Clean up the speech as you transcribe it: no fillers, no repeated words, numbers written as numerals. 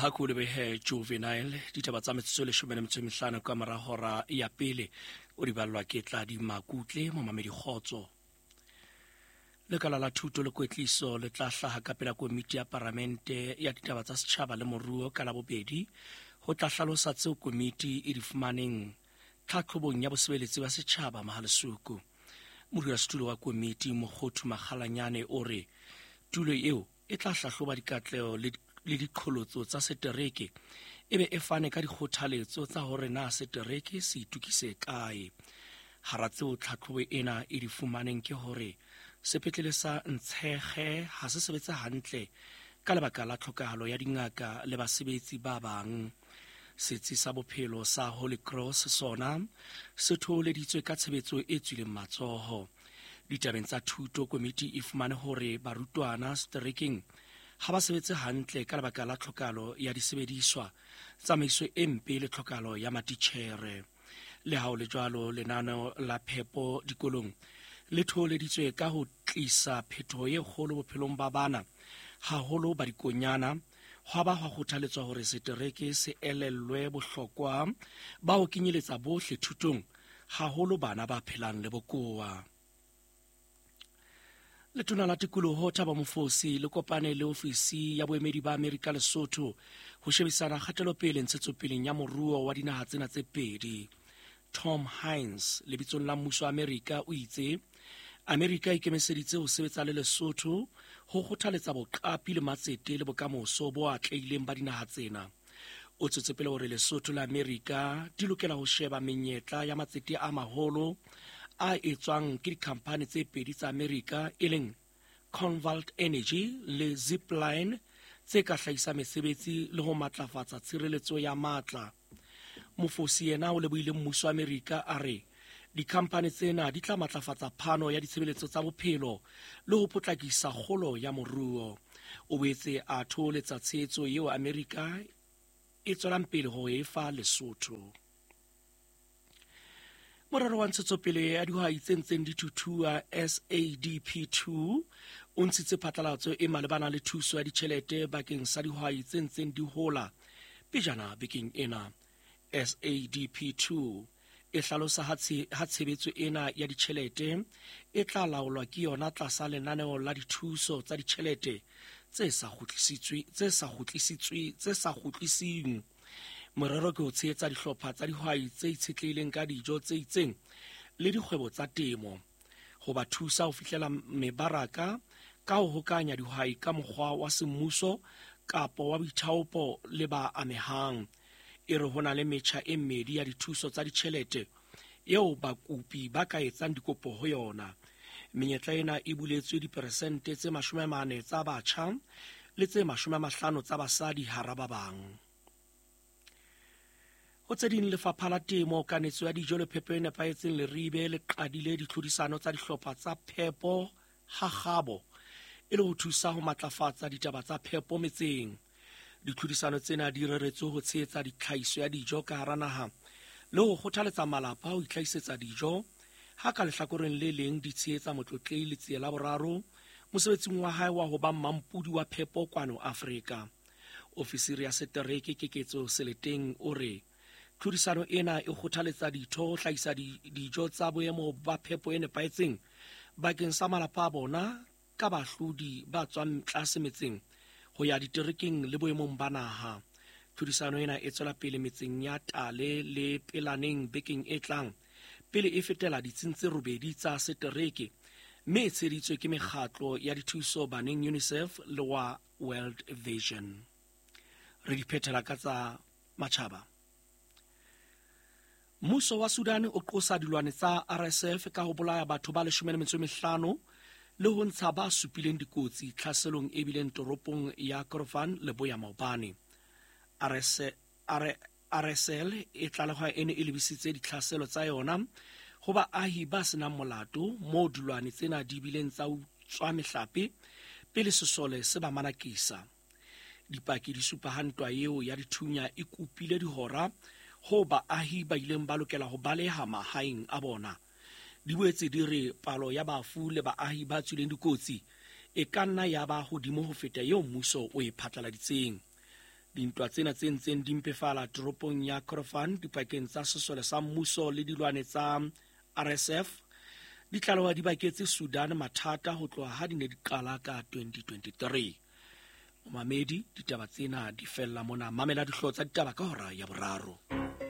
Ha ko lebehe Juvenile. Ditaba tsa metsotso e 15 ka mora hora ya pele o di ballwa ke Tladi Makutle. Momamedi, kgotso. Lekala la thuto le kwetliso le tla hlaha ka pela komiti ya paramente ya ditaba tsa setjhaba le moruo ka Labobedi ho tla hlalosa tseo komiti e di fumaneng tlhatlhobong ya bosebeletsi ba setjhaba Mahalesuku. Modulasetulo wa komiti, Mokgothu Makgalanyane, o re tulo eo e tla hlahloba dikatleho le diqholotso tsa setereke, e be e fane ka dikgothaletso tsa hore na setereke se itukise kae. Hara tseo tlhatlhobo ena e di fumaneng ke hore sepetlele sa Ntshege ha se sebetse hantle ka lebaka la tlhokahalo ya dingaka le basebetsi ba bang. Setsi sa bophelo sa Holy Cross sona se thoholeditswe ka tshebetso e tswileng matsoho. Ditabeng tsa thuto, komiti e fumane hore barutwana seterekeng ha ba sebetse hantle ka lebaka la tlhokahalo ya disebediswa, tsamaiso e mpe le tlhokahalo ya matitjhere. Le ha ho le jwalo, lenaneo la phepo dikolong le thoholeditswe ka ho tlisa phetoho e kgolo bophelong ba bana, haholo ba dikonyana. Hwa ba hwa kgothaletswa hore setereke se elellwe bohlokwa ba ho kenyeletsa bohle thutong, haholo bana ba phelang le bokowa. Letona la tikoloho Thabo Mofosi le kopane le ofisi ya boemedi ba Amerika Lesotho ho shebisana kgatelopele ntshetsopeleng ya moruo wa dinaha tsena tse pedi. Tom Hines lebitsong la mmuso wa Amerika o itse Amerika e ikemiseditse ho sebetsa le Lesotho ho kgothaletsa boqapi le matsete le bokamoso bo atlehileng ba dinaha tsena. O tswetse pele hore Lesotho le Amerika di lokela ho sheba menyetla ya matsete a maholo a etswang ke dikhamphani tse pedi tsa Amerika, e leng Convalt Energy le Zipline, tse ka hlahisa mesebetsi le ho matlafatsa tshireletso ya matla. Mofosi yena o lebohile mmuso wa Amerika, a re dikhamphani tsena di tla matlafatsa phano ya ditshebeletso tsa bophelo le ho potlakisa kgolo ya moruo. O boetse a thoholetsa tshehetso eo Amerika e tswelang pele ho e fa Lesotho. Morero wa ntshetsopele ya dihwai tse ntseng di thuthua, SADP2, o ntshitse phatlalatso e malebana le thuso ya ditjhelete bakeng sa dihwai tse ntseng di hola pejana bekeng ena. SADP2 e hlalosa ha tshebetso ena ya ditjhelete e tla laolwa ke yona tlasa lenaneo la dithuso tsa ditjhelete tse sa kgutlisitsweng. Morero ke ho tshehetsa dihlopha tsa dihwai tse itshetlehileng ka dijo tse itseng le dikgwebo tsa temo, ho ba thusa ho fihlela mebaraka ka ho hokanya dihwai ka mokgwa wa semmuso kapo wa boithaopo le ba amehang. E re ho na le metjha e mmedi ya dithuso tsa ditjhelete eo bakopi ba ka etsang dikopo ho yona. Menyetla ena e buletswe diperesente tse 40 tsa batjha le tse 50 tsa basadi hara ba bang. Ho tse ding, lefapha la temo, kanetso ya dijo le phepo e nepahetseng Leribe le qadile ditlhodisano tsa dihlopha tsa phepo ha kgabo e le ho thusa ho matlafatsa ditaba tsa phepo metseng. Ditlhodisano tsena di reretswe ho tshehetsa ditlhahiso ya dijo ka hara naha le ho kgothaletsa malapa ho itlhahisetsa dijo, ha ka lehlakoreng le leng di tshehetsa Motlotlehi Letsie la Boraro mosebetsing wa hae wa ho ba mmampudi wa phepo kwano Afrika. Ofisiri ya setereke Keketso Seleteng o re tlhodisano ena e kgothaletsa ditho ho hlahisa dijo tsa boemo ba phepo e nepahetseng bakeng sa malapa a bona ka bahlodi ba tswang tlase metseng ho ya diterekeng le boemong ba naha. Tlhodisano ena e tswela pele metseng ya Tale le Pelaneng bekeng e tlang pele e fetela ditsing tse robedi tsa setereke, mme e tsheheditswe ke mekgatlo ya dithuso baneng UNICEF le wa World Vision. Re di phethela ka tsa matjhaba. Mmuso wa Sudan o qosa dilwane tsa RSF ka ho bolaya batho ba 15 le ho ntsha ba supileng dikotsi tlhaselong e bileng toropong ya Kordofan leboya maobane. RSL e tlalehwa e ne e lebisitse ditlhaselo tsa yona ho baahi ba senang molato moo dilwane tsena di bileng tsa utswa mehlape pele sesole se ba manakisa. Dipaki di supa ha ntwa eo ya dithunya e kopile dihora ho baahi ba ileng ba lokela ho baleha mahaeng a bona. Di boetse di re palo ya bafu le baahi ba tswileng dikotsi e ka nna ya ba hodimo ho feta eo mmuso o e phatlaladitseng. Dintwa tsena tse ntseng di mpefala toropong ya Kordofan dipakeng tsa sesole sa mmuso le dilwane tsa RSF di tlalewa di baketse Sudan mathata ho tloha ha di ne di qala ka 2023. Momamedi, ditaba tsena di fella mona. Mamela dihlooho tsa ditaba ka hora ya boraro.